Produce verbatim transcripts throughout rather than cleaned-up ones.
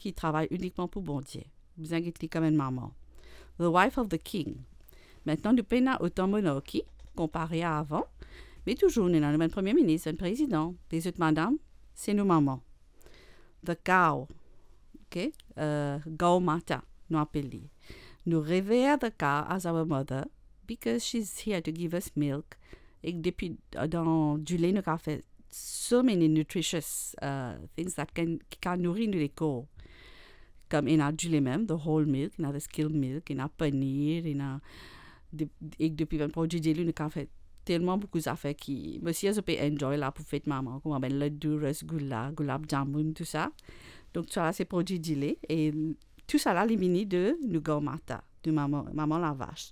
ki travay inikman pou Bondie. Bizin get li kouma enn mama. The wife of the king. Aster nou pena otan monarki konpare a avan, me touzour nou ena nou bann premie minis, bann prezidan, lezot madam, se nou mama. The cow, ok, uh, Gau Mata, nou apel li. Nou rever the cow as our mother because she's here to give us milk. E depi, dan dile nou kapav fer so many nutritious, uh, things that can, ki kapav nouri nou lekor. Kouma ena dile mem, the whole milk, ena the skim milk, ena paneer, ena de, ek depi bann prodwi dile nou kapav fer telman boukou zafer ki, mo sir zot pe enjoy la pou fet mama, kouma bann laddu, rasgulla, gulab jamun, tou sa. Donk, sa la se prodwi dile, e tou sa la, li vini de nou Gau Mata, de mama, mama lavas.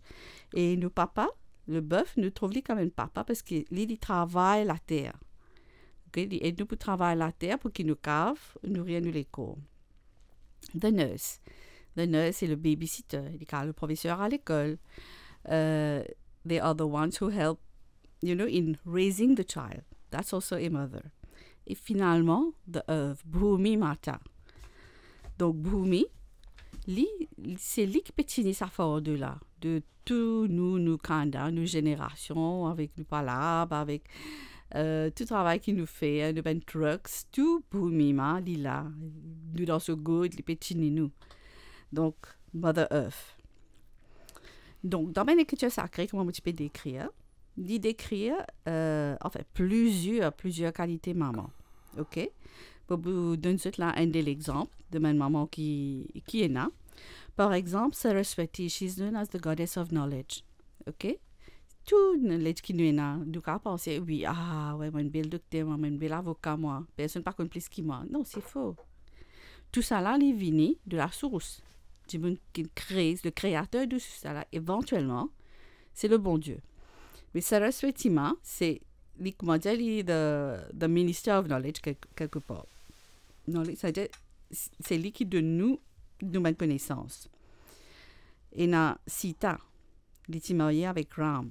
E nou papa, lebef, nou trouv li kouma enn papa, parski li, li travay later. Ok, li ed nou pou travay later, pou ki nou kapav nouri nou lekor. The nurse. The nurse, se le babysitter, li kapav le profeser a lekol. Uh, they are the ones who help, you know, in raising the child. That's also a mother. E finalman, the earth, Bhumi Mata. Donk, Bhumi, li, se li ki pe tini sa fardo la, de tou nou, nou kanda, nou zenerasion, avek nou palab, avek, euh, tou travay ki nou fer, nou bann trucks, tou Bhumi Ma, li la, nou dan so gord, li pe tini nou. Donk, Mother Earth. Donk, dan bann lekritir sakre, kouma mo ti pe dekrir, li dekrir, euh, anfin, plizier, plizier kalite mama. Ok? Pou, pou donn zot la enn de lexanp de bann mama ki, ki ena. Par exanp, Saraswati, she's known as the goddess of knowledge. Ok? Tou knowledge ki nou ena, nou kapav panse, wi, ah, wi, mo enn bel dokter, mo enn bel avoka, mwa. Personn pa konn plis ki mwa. Non, se fo. Tou sa la, li vini de la source. Dimoun ki kree, le kreater de tou sa la, evantielman, se le Bondie. Me Saraswati Ma, se, li, kouma dir, li the, the minister of knowledge, kek-, kelkepar. Knowledge, sa ve dir, se li ki donn nou, nou bann konesans. Ena Sita, li ti marye avek Ram.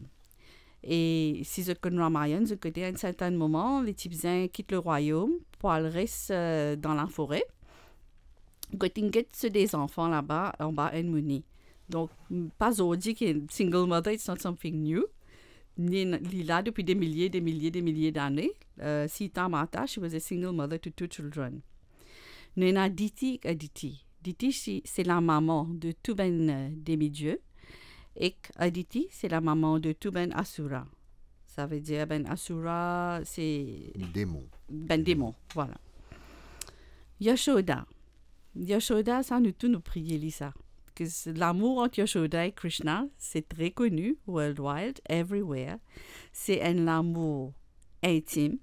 E si zot konn Ramayan, zot kote, a enn sertin moman, li ti bizin kit lerwayom pou al res, euh, dan lafore. Kot inn get so de zanfan laba, anba enn moni. Donk, pa zordi ki single mother, it's not something new. Li, li la depi de milie, de milie, de milie dane. Euh, Sita Mata, she was a single mother to two children. Nou ena Diti ek Aditi. Diti, se, se lamama de tou bann, euh, demidie. Ek Aditi, se lamama de tou bann asura. Sa ve dir bann asura, se demon. Bann demon, vwala. Yashoda. Yashoda, sa nou tou nou priye li sa. Ke s-, lamour ant Yashoda e Krishna, se tre koni, worldwide, everywhere. Se enn lamour intim,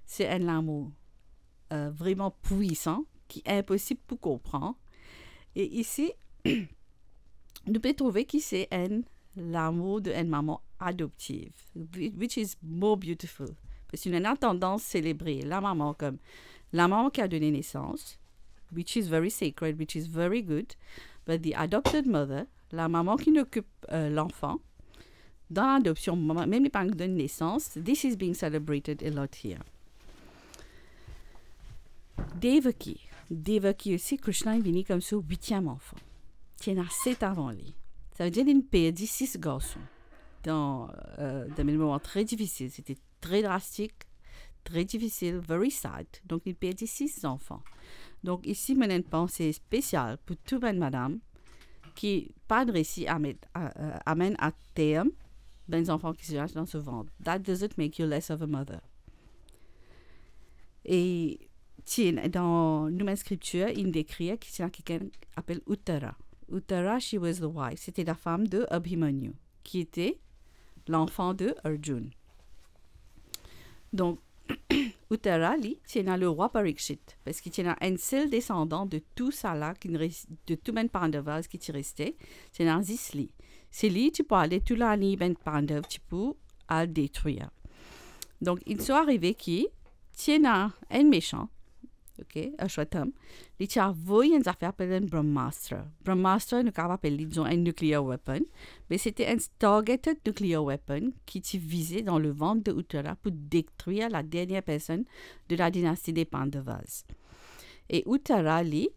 se enn lamour, euh, vreman pwisan, ki inposib pou konpran. E isi, nou pe trouve ki se enn lamour de enn mama adoptiv, whi-, which is more beautiful. Parski nou ena tandans selebre lamama kom lamama ki a done nesans, which is very sacred, which is very good, but the adopted mother, lamama ki inn okip, euh, lanfan, dan ladopsion, mama, mem li pa donn nesans, this is being celebrated a lot here. Devaki. Devaki osi, Krishna inn vini kom so witiem anfan. Ti ena set avan li. Sa ve dir li inn perdi sis garson. Dan, euh, dan enn moman tre difisil, sete tre drastik, tre difisil, very sad. Donk, li perdi sis zanfan. Donk, isi, mo ena enn panse spesial pou tou bann madam ki pa resi a met, a, a, amenn a term bann zanfan ki ti dan so vant. That doesn't make you less of a mother. E ti ena, dan nou bann skriptir, inn dekrir ki ti ena kikenn apel Uttara. Uttara, she was the wife, sete lafam de Abhimanyu, ki ete lanfan de Arjun. Donk, Uttara, li, ti ena lerwa Parikshit, parski ti ena enn sel desandan de tou sala ki res-, de tou bann Pandavas ki ti reste, ti ena zis li. Se li ti pou ale tou lagniy bann Pandav ti pou al detrir. Donk, inn so arive ki ti ena enn mesan, ok, Ashwatham, li ti avoy enn zafer apel enn Brahmastra. Brahmastra, nou kapav apel li, dizon, enn nuclear weapon, me sete enn targeted nuclear weapon ki ti vize dan levant de Uttara pou detrir la dernier personn de la dinasti de Pandavas. E Uttara, li,